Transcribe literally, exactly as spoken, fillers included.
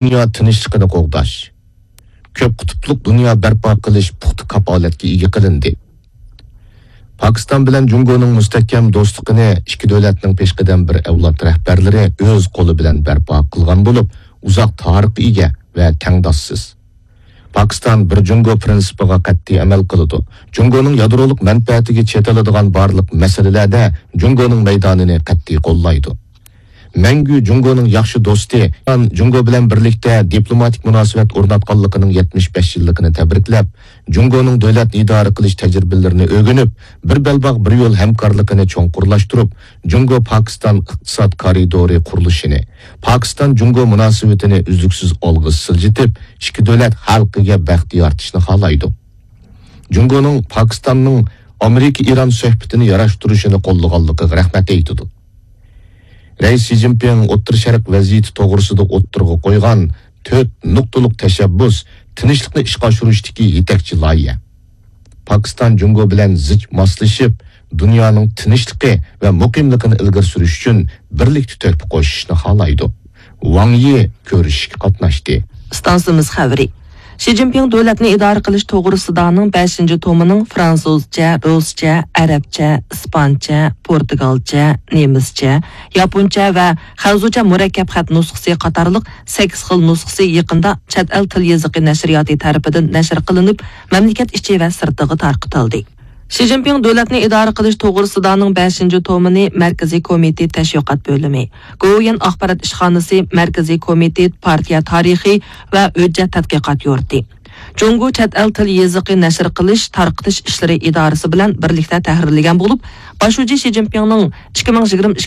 دۇنيا تىنچلىقىنى قوغداش، كۆپ قۇتۇپلۇق دۇنيا بەرپا قىلىش پۇختا كاپالەتكە ئىگە قىلىندى. پاكىستان بىلەن جۇڭگونىڭ مۇستەھكەم دوستلۇقىنى ئىككى دۆلەتنىڭ پېشقەدەم بىر ئەۋلاد رەھبەرلىرى ئۆز قولى بىلەن بەرپا قىلغان بولۇپ، ئۇزاق تارىخقا ئىگە ۋە تەڭداشسىز. پاكىستان بىر جۇڭگو پىرىنسىپىغا قەتئىي ئەمەل قىلىدۇ. جۇڭگونىڭ يادرولۇق مەنپەئەتىگە چېتىلىدىغان بارلىق مەسىلىلەردە جۇڭگونىڭ مەيدانىنى قەتئىي قوللايدۇ. مەڭگۈ جۇڭگونىڭ ياخشى دوستى، جۇڭگو بىلەن بىرلىكتە دىپلوماتىك مۇناسىۋەت ئورناتقانلىقىنىڭ يەتمىش بەش يىللىقىنى تەبرىكلەپ، جۇڭگونىڭ دۆلەتنى ئىدارە قىلىش تەجرىبىلىرىنى ئۆگىنىپ، بىر بەلباغ، بىر يول ھەمكارلىقىنى چوڭقۇرلاشتۇرۇپ، جۇڭگو پاكىستان ئىقتىساد كارىدورى قۇرۇلۇشىنى، پاكىستان جۇڭگو مۇناسىۋىتىنى ئۈزلۈكسىز ئالغا سىلجىتىپ، ئىككى دۆلەت خەلقىگە بەخت يارىتىشنى خالايدۇ. جۇڭگونىڭ پاكىستاننىڭ ئامېرىكا ئىران سۆھبىتىنى ياراشتۇرۇشىنى قوللىغانلىقىغا رەھمەت ئېيتىدۇ. رەئىس شى جىنپىڭ ئوتتۇرا شەرق ۋەزىيىتى توغرىسىدا ئوتتۇرىغا قويغان تۆت نۇقتىلىق تەشەببۇس تىنچلىقنى ئىشقا ئاشۇرۇشتىكى يېتەكچى لايىھە. پاكىستان جۇڭگو بىلەن زىچ ماسلىشىپ، دۇنيانىڭ تىنچلىقى ۋە مۇقىملىقىنى ئىلگىرى سۈرۈش ئۈچۈن بىرلىكتە تۆھپە قوشۇشنى خالايدۇ. ۋاڭ يى كۆرۈشۈشكە قاتناشتى. ئىستانسىمىز خەۋىرى. شى جىنپىڭ دۆلەتنى ئىدارە قىلىش توغرىسىدانىڭ بەشىنچى تومىنىڭ فرانسۇزچە، رۇسچە، ئەرەبچە، ئىسپانچە، پورتۇگالچە، نېمىسچە، ياپونچە ۋە خەنزۇچە مۇرەككەپ خەت نۇسخىسى قاتارلىق سەككىز خىل نۇسخىسى يېقىندا چەت ئەل تىل يېزىقى نەشرىياتى تەرىپىدىن نەشر قىلىنىپ، مەملىكەت ئىچى ۋە سىرتىغا تارقىتىلدى. شى جىنپىڭ دۆلەتنى ئىدارە قىلىش توغرىسىدانىڭ بەشىنچى تومىنى مەركىزىي كومىتېت تەشۋىقات بۆلۈمى، گوۋۇيۈەن ئاخبارات ئىشخانىسى، مەركىزىي كومىتېت پارتىيە تارىخى ۋە ھۆججەت تەتقىقات يۇرتى، جۇڭگو چەت ئەل تىل يېزىقى نەشر قىلىش، تارقىتىش ئىشلىرى ئىدارىسى بىلەن بىرلىكتە تەھرىرلىگەن بولۇپ، باش شۇجى شى جىنپىڭنىڭ ئىككى مىڭ يىگىرمە